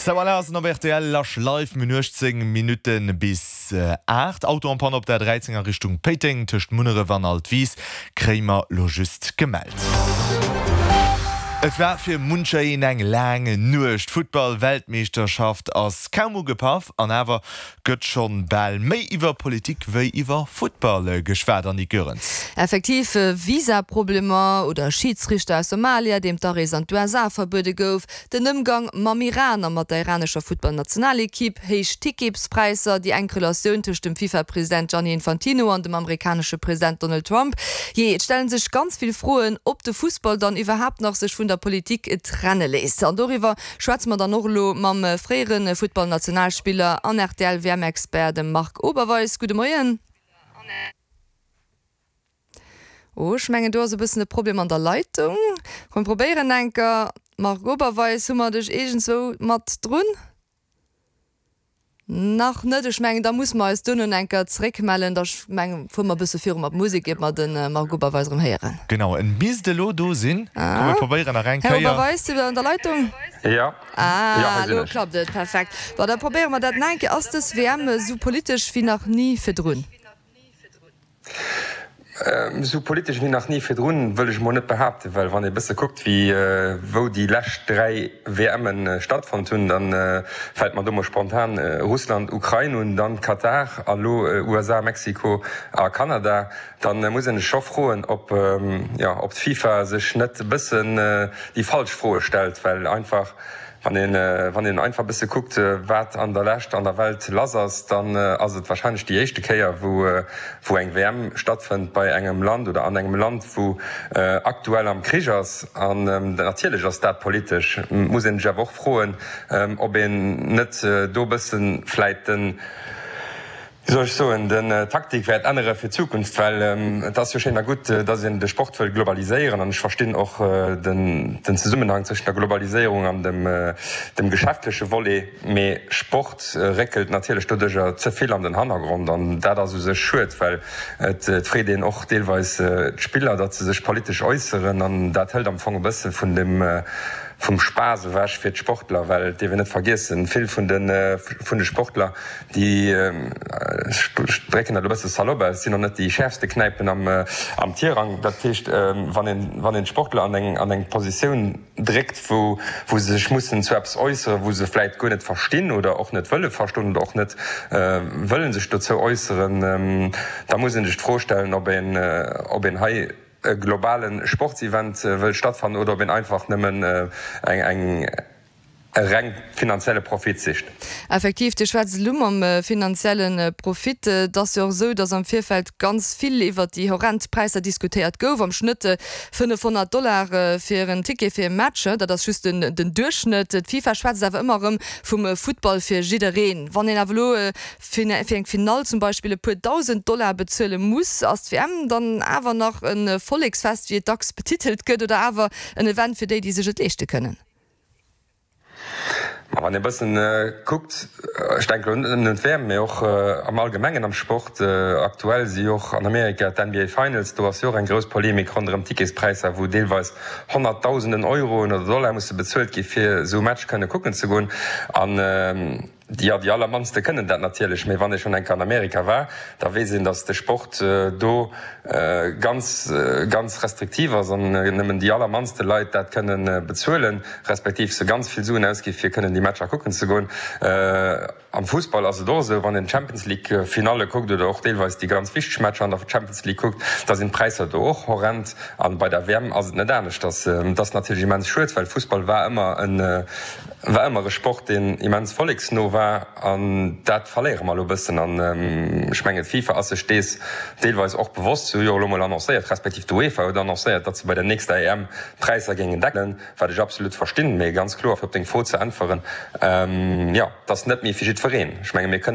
Sou voilà ass en op rtl Lasch Live. Mir hunn 18 Minutte bis 8. Auto en panne op der 13 a Richtung Péiteng tëscht Munneref an Altwis kréie mer lo just gemellt. Et war fir muncher een eng laang Nuecht. D'Futtball-Weltmeeschterschaft ass kaum ugepaff an awer Gëtt schonn bal méi iwwer Politik wéi iwwer Futtball geschwat, Annick Goerens. Effektiv, Visa-Problemer oder e Schiidsrichter aus Somalia, deem d'Arees an d'USA verbuede gouf, den Ëmgang mam Iran a mat der iranescher Futtballnationalekipp, héich Ticketspräisser, déi enk Relatioun tëscht dem FIFA-President Gianni Infantino an dem amerikanesche President Donald Trump. Jee, et stelle sech ganz vill Froen, ob de Fussball dann iwwerhaapt nach sech vun der Politik trenne léisst. An doriwwer Schwätze mer dann och elo mam fréiere Futtballnationalspiller an RTL-WM-Expert, dem Marc Oberweis. Gudde Moien. Oh, ech mengen do ass e bëssen e Problem an der Leitung. Komm mir probéieren enker. Marc Oberweis, hu mer dech iergendzwou mat drun? Nach net. Ech mengen, da musse mer eis duerno enker zeréckmellen. Da meng fuere mer e bësse viru mat Musek, iert mer de Marc Oberweis erëm héieren. Genau, en misst elo do sinn. Komm mir probéieren nach eng Här Kéier. Oberweis, sidd Der an der Leitung? Jo, jo, Ah, hei sinn elo ech. klappt et. Perfekt. Bon, da probéiere mer dat nach eng Kéier. Ass dës WM esou politesch wéi nach ni virdrun? Esou politesch wéi nach ni virdrun, wëll ech emol net behaapten, well wann ee bësse kuckt, wéi wou déi lescht 3 WMe stattfonnt hunn, da fält mer do mol spontan Russland, Ukrain un, dann Katar a lo USA, Mexiko a Kanada. Da muss een sech scho froen, ob, jo, ob d'FIFA sech net e bëssen déi falsch Froe stellt, well einfach Wann een, wann een einfach e bësse kuckt, wat an der Lescht an der Welt lass ass, dann ass et wahrscheinlech déi éischte Kéier, wou, wou eng WM stattfënnt bei engem Land oder an engem Land, wou aktuell am Krich ass. An natierlech ass dat politesch. Et muss een sech awer och froen, ob een net do e bësse vläit den, wéi soll ech soen, den Taktik wäert ännere fir d'Zukunft, well et ass jo schéin a gutt, datt een de Sport wëll globaliséieren an ech verstinn och den Zesummenhang zwëschen der Globaliséierung an dem geschäftleche Volet, mee Sport réckelt natierlech doduercher ze vill an den Hannergrond an dat ass u sech schued, well et freet een och deelweis d'Spiller, datt se sech politesch äusseren an dat hëlt am Fong e bësse vun dem vum Spaass ewech fir d'Sportler, well et dierf een net vergiessen, vill vun de Sportler, Déi, ech drécken dat elo e bësse salopp aus, sinn och net déi schäerfste Knäipen am Tirang. Dat heescht, wann een, wann een d'Sportler an eng, an eng Positioun dréckt, wou, wou se sech mussen zu eppes äusseren, wou se vläit guer net verstinn oder och net wëlle verstoen oder och net wëlle sech dozou äusseren, da muss ee sech d'Fro stellen, ob een, ob een hei e globale Sportsevent wëll stattfannen oder ob een einfach nëmmen eng, eng, e reng finanzielle Profit sicht. Effektiv, Dir schwätzt elo mam finanzielle Profit. Et ass jo och esou, datt am Virfeld ganz vill iwwert déi horrend Präisser diskutéiert gouf, am Schnëtt 500 Dollar fir en Ticket fir e Match. Dat ass just den Duerchschnëtt. D'FIFA schwätzt awer ëmmer erëm vum Futtball fir jiddereen. Wann een awer elo fir eng Finall zum Beispill e puer 1.000 Dollar bezuele muss, ass d'WM dann awer nach e Volleksfest, wéi et dacks betitelt gëtt, oder awer en Event fir déi, déi sech et leeschte kënnen? Ma wann ee bëssen kuckt, ech denken elo net nëmmen un d'WM, mee och am Allgemengen am Sport, aktuell si jo och an Amerika d'NBA Finals, do ass jo och eng grouss Polemik ronderëm d'Ticketspräisser, wou deelweis Honnertdausenden Euroen oder Dollar musse bezuelt gi fir esou e Match kënne kucken ze goen. An Jo, déi allermannste kënnen dat natierlech, mee wann ee schonn eng Kéier an Amerika war, da weess een, datt de Sport do ganz, ganz restriktiv ass an nëmmen déi allermannste Leit dat kënne bezuelen, respektiv se ganz vill Suen ausgi fir kënnen déi Matcher kucken ze goen. Am Fussball ass et och esou, wann een d'Champions League Finalle kuckt oder och deelweis déi ganz wichteg Matcher an der Champions League kuckt, da sinn d'Präisser do och horrend. An bei der WM ass et net anescht. Dat ass natierlech immens schued, well Fussball war ëmmer en War ëmmer e Sport, deen immens volleksno war, an dat verléiere mer elo e bëssen. An ech mengen, d'FIFA ass sech dees deelweis och bewosst. Se hu jo elo mol annoncéiert, respektiv d'UEFA huet annoncéiert, datt se bei der nächster EM d'Präisser géingen deckelen, wat ech absolut verstinn. Mee ganz kloer, fir op deng Fro ze äntweren, jo, et ass net méi fir jiddwereen. Ech menge mir kënnen.